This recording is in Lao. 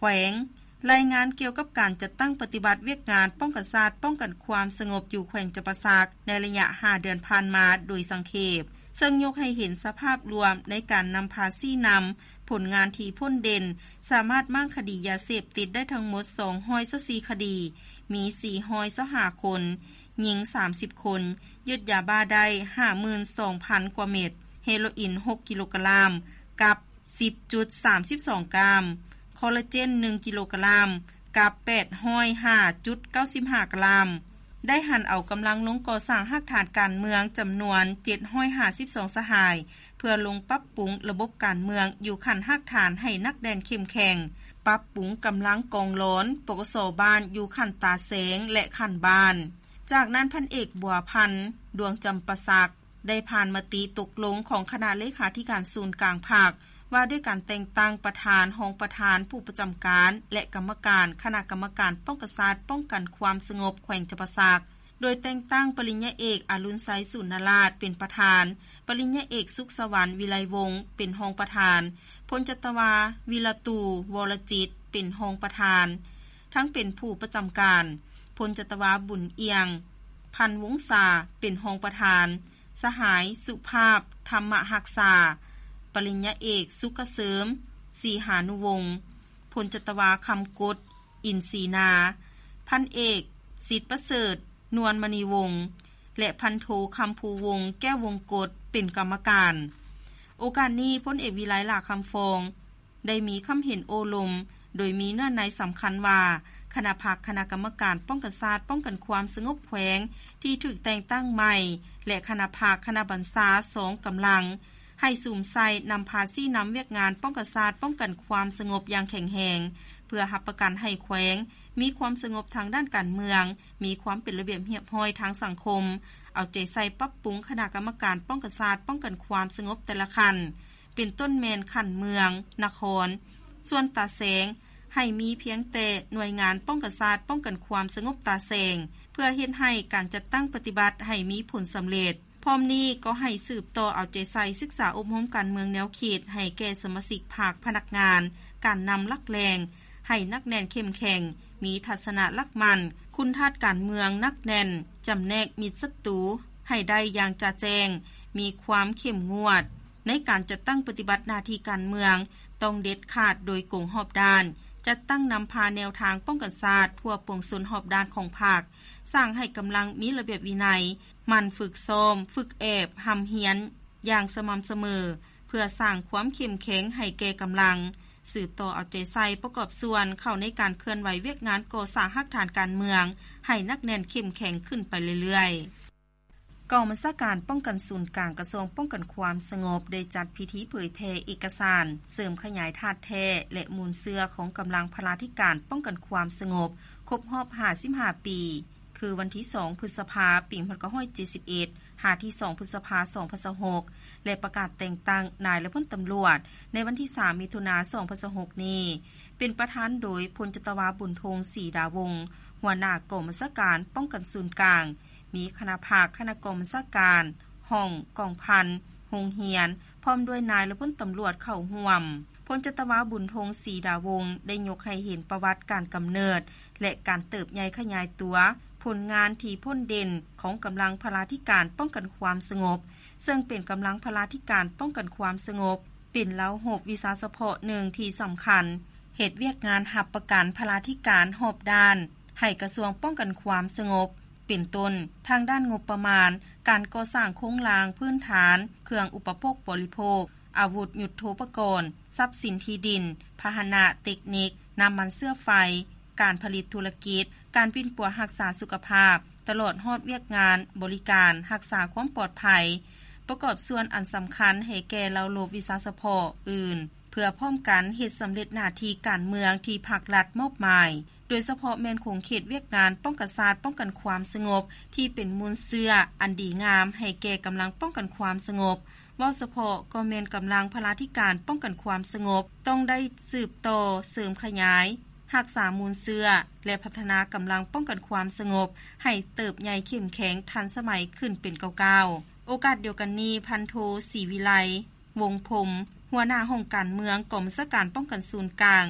ແຂວງ ລາຍງານກ່ຽວກັບການຈັດຕັ້ງປະຕິບັດວຽກງານປ້ອງກັນຊາດ, ປ້ອງກັນຄວາມສະຫງົບຢູ່ແຂວງຈຳປາສັກ ໃນໄລຍະຫ້າເດືອນຜ່ານມາໂດຍສັງເຂບ, ເຊິ່ງຍົກໃຫ້ເຫັນສະພາບລວມໃນການນຳພາຊີ້ນຳຜົນງານທີ່ພົ້ນເດັ່ນ, ສາມາດມ້າງຄະດີຢາເສບຕິດໄດ້ທັງໝົດສອງຮ້ອຍຊາວສີ່ຄະດີ, ມີສີ່ຮ້ອຍຊາວຫ້າຄົນ, ຍິງສາມສິບຄົນ, ຍຶດຢາບ້າໄດ້ຫ້າໝື່ນສອງພັນກວ່າເມັດ, ເຮໂຣອິນຫົກກິໂລກຣາມ ກັບ ສິບຈຸດສາມສິບສອງກຣາມ, ຄໍລາເຈນໜຶ່ງກິໂລກຣາມ ກັບແປດຮ້ອຍຫ້າຈຸດເກົ້າສິບຫ້າກຣາມ, ໄດ້ຫັນເອົາກຳລັງລົງກໍ່ສ້າງຮາກຖານການເມືອງຈຳນວນເຈັດຮ້ອຍຫ້າສິບສອງສະຫາຍ ເພື່ອລົງປັບປຸງລະບົບການເມືອງຢູ່ຂັ້ນຮາກຖານໃຫ້ໜັກແໜ້ນເຂັ້ມແຂງ, ປັບປຸງກຳລັງກອງລອນ ປກສ ບ້ານຢູ່ຂັ້ນຕາແສງ ແລະ ຂັ້ນບ້ານ. ຈາກນັ້ນ ພັນເອກ ບົວພັນ ດວງຈຳປາສັກ ໄດ້ຜ່ານມະຕິຕົກລົງຂອງຄະນະເລຂາທິການສູນກາງພັກ ວ່າດ້ວຍການແຕ່ງຕັ້ງປະທານ, ຮອງປະທານ, ຜູ້ປະຈຳການ ແລະ ກຳມະການຄະນະກຳມະການປ້ອງກັນຊາດ, ປ້ອງກັນຄວາມສະຫງົບແຂວງຈຳປາສັກ, ໂດຍແຕ່ງຕັ້ງປະລິນຍາເອກ ອະລຸນໄຊ ສູນນະລາດ ເປັນປະທານ, ປະລິນຍາເອກ ສຸກສະຫວັນ ວິໄລວົງ ເປັນຮອງປະທານ, ພົນຈັດຕະວາ ວິລະຕູ ວໍລະຈິດ ເປັນຮອງປະທານ ທັງເປັນຜູ້ປະຈຳການ, ພົນຈັດຕະວາ ບຸນອຽງ ພັນວົງສາ ເປັນຮອງປະທານ, ສະຫາຍ ສຸພາບ ທຳມະຮັກສາ, ປະລິນຍາເອກ ສຸກກະເສີມ ສີຫານຸວົງ, ພົນຈັດຕະວາ ຄຳກົດ ອິນສີນາ, ພັນເອກ ສິດປະເສີດ ນວນມະນີວົງ ແລະ ພັນໂທ ຄຳພູວົງ ແກ້ວວົງກົດ ເປັນກຳມະການ. ໂອກາດນີ້ ພົນເອກ ວິໄລ ຫຼ້າຄຳຟອງ ໄດ້ມີຄຳເຫັນໂອ້ລົມ ໂດຍມີເນື້ອໃນສຳຄັນວ່າ ຄະນະພັກຄະນະກຳມະການປ້ອງກັນຊາດ, ປ້ອງກັນຄວາມສະຫງົບແຂວງ ທີ່ຖືກແຕ່ງຕັ້ງໃໝ່ ແລະ ຄະນະພັກຄະນະບັນຊາສອງກຳລັງ ໃຫ້ສຸມໃສ່ນຳພາຊີ້ນຳວຽກງານປ້ອງກັນຊາດ, ປ້ອງກັນຄວາມສະຫງົບຢ່າງແຂງແຮງ ເພື່ອຮັບປະກັນໃຫ້ແຂວງມີຄວາມສະຫງົບທາງດ້ານການເມືອງ, ມີຄວາມເປັນລະບຽບຮຽບຮ້ອຍທາງສັງຄົມ, ເອົາໃຈໃສ່ປັບປຸງຄະນະກຳມະການປ້ອງກັນຊາດ, ປ້ອງກັນຄວາມສະຫງົບແຕ່ລະຂັ້ນ ເປັນຕົ້ນແມ່ນຂັ້ນເມືອງ, ນະຄອນ, ສ່ວນຕາແສງ ໃຫ້ມີພຽງແຕ່ໜ່ວຍງານປ້ອງກັນຊາດ, ປ້ອງກັນຄວາມສະຫງົບຕາແສງ ເພື່ອເຮັດໃຫ້ການຈັດຕັ້ງປະຕິບັດໃຫ້ມີຜົນສຳເລັດ. ພ້ອມນີ້ກໍໃຫ້ສືບຕໍ່ເອົາໃຈໃສ່ສຶກສາອົບຮົມການເມືອງແນວຄິດໃຫ້ແກ່ສະມາຊິກພັກ, ພະນັກງານ, ການນຳຫຼັກແຫຼ່ງ ໃຫ້ໜັກແໜ້ນເຂັ້ມແຂງ, ມີທັດສະນະຫຼັກໝັ້ນ, ຄຸນທາດການເມືອງໜັກແໜ້ນ, ຈຳແນກມິດສັດຕູໃຫ້ໄດ້ຢ່າງຈະແຈ້ງ, ມີຄວາມເຂັ້ມງວດ ໃນການຈັດຕັ້ງປະຕິບັດໜ້າທີ່ການເມືອງ ຕ້ອງເດັດຂາດໂດຍກົງຮອບດ້ານ, ຈັດຕັ້ງນຳພາແນວທາງປ້ອງກັນຊາດທົ່ວປວງຊົນຮອບດ້ານຂອງພັກ, ສ້າງໃຫ້ກຳລັງມີລະບຽບວິໄນ, ໝັ່ນຝຶກຊ້ອມ, ຝຶກແອບ, ຮ່ຳຮຽນຢ່າງສະໝ່ຳສະເໝີ ເພື່ອສ້າງຄວາມເຂັ້ມແຂງໃຫ້ແກ່ກຳລັງ, ສືບຕໍ່ເອົາໃຈໃສ່ປະກອບສ່ວນເຂົ້າໃນການເຄື່ອນໄຫວວຽກງານກໍ່ສ້າງຮາກຖານການເມືອງໃຫ້ໜັກແໜ້ນເຂັ້ມແຂງຂຶ້ນໄປເລື້ອຍໆ. ກອງບັນຊາການປ້ອງກັນສູນກາງ ກະຊວງປ້ອງກັນຄວາມສະຫງົບ ໄດ້ຈັດພິທີເຜີຍແຜ່ເອກະສານເສີມຂະຫຍາຍທາດແທ້ ແລະ ມູນເຊື້ອຂອງກຳລັງພະລາທິການປ້ອງກັນຄວາມສະຫງົບ ຄົບຮອບຫ້າສິບຫ້າປີ ຄືວັນທີສອງ ພຶດສະພາ ປີໜຶ່ງພັນເກົ້າຮ້ອຍເຈັດສິບເອັດ ຫາທີສອງ ພຶດສະພາ ສອງພັນຊາວຫົກ ແລະ ປະກາດແຕ່ງຕັ້ງນາຍ ແລະ ພົນຕຳຫຼວດ ໃນວັນທີສາມ ມິຖຸນາ ສອງພັນຊາວຫົກນີ້ ເປັນປະທານໂດຍ ພົນຈັດຕະວາ ບຸນທົງ ສີດາວົງ ຫົວໜ້າກອງບັນຊາການປ້ອງກັນສູນກາງ, ມີຄະນະພັກ, ຄະນະກອງບັນຊາການ, ຫ້ອງ, ກອງພັນ, ໂຮງຮຽນ ພ້ອມດ້ວຍນາຍ ແລະ ພົນຕຳຫຼວດເຂົ້າຮ່ວມ. ພົນຈັດຕະວາ ບຸນທົງ ສີດາວົງ ໄດ້ຍົກໃຫ້ເຫັນປະຫວັດການກຳເນີດ ແລະ ການເຕີບໃຫຍ່ຂະຫຍາຍຕົວ, ຜົນງານທີ່ພົ້ນເດັ່ນຂອງກຳລັງພະລາທິການປ້ອງກັນຄວາມສະຫງົບ, ເຊິ່ງເປັນກຳລັງພະລາທິການປ້ອງກັນຄວາມສະຫງົບ ເປັນລາວຮົບວິຊາສະເພາະໜຶ່ງທີ່ສຳຄັນ, ເຮັດວຽກງານຮັບປະກັນພະລາທິການຮອບດ້ານໃຫ້ກະຊວງປ້ອງກັນຄວາມສະຫງົບ ເປັນຕົ້ນ ທາງດ້ານງົບປະມານ, ການກໍ່ສ້າງໂຄງລ່າງພື້ນຖານ, ເຄື່ອງອຸປະໂພກບໍລິໂພກ, ອາວຸດຍຸດໂທປະກອນ, ຊັບສິນທີ່ດິນ, ພາຫະນະ, ເຕັກນິກ, ນ້ຳມັນເຊື້ອໄຟ, ການຜະລິດທຸລະກິດ, ການປິ່ນປົວຮັກສາສຸຂະພາບ, ຕະຫຼອດຮອດວຽກງານບໍລິການຮັກສາຄວາມປອດໄພ ປະກອບສ່ວນອັນສຳຄັນໃຫ້ແກ່ລາວລົບວິຊາສະເພາະອື່ນ ເພື່ອພ້ອມກັນເຮັດສຳເລັດໜ້າທີ່ການເມືອງທີ່ພັກລັດມອບໝາຍ, ໂດຍສະເພາະແມ່ນຂົງເຂດວຽກງານປ້ອງກັນຊາດ, ປ້ອງກັນຄວາມສະຫງົບ ທີ່ເປັນມູນເຊື້ອອັນດີງາມໃຫ້ແກ່ກຳລັງປ້ອງກັນຄວາມສະຫງົບ. ເວົ້າສະເພາະກໍແມ່ນກຳລັງພະລາທິການປ້ອງກັນຄວາມສະຫງົບ ຕ້ອງໄດ້ສືບຕໍ່ເສີມຂະຫຍາຍ ຮັກສາມູນເຊື້ອ ແລະ ພັດທະນາກຳລັງປ້ອງກັນຄວາມສະຫງົບໃຫ້ເຕີບໃຫຍ່ເຂັ້ມແຂງທັນສະໄໝຂຶ້ນເປັນກ້າວໆ. ໂອກາດດຽວກັນນີ້ ພັນໂທ ສີວິໄລ ວົງພົມ ຫົວໜ້າຫ້ອງການເມືອງ ກອງບັນຊາການປ້ອງກັນສູນກາງ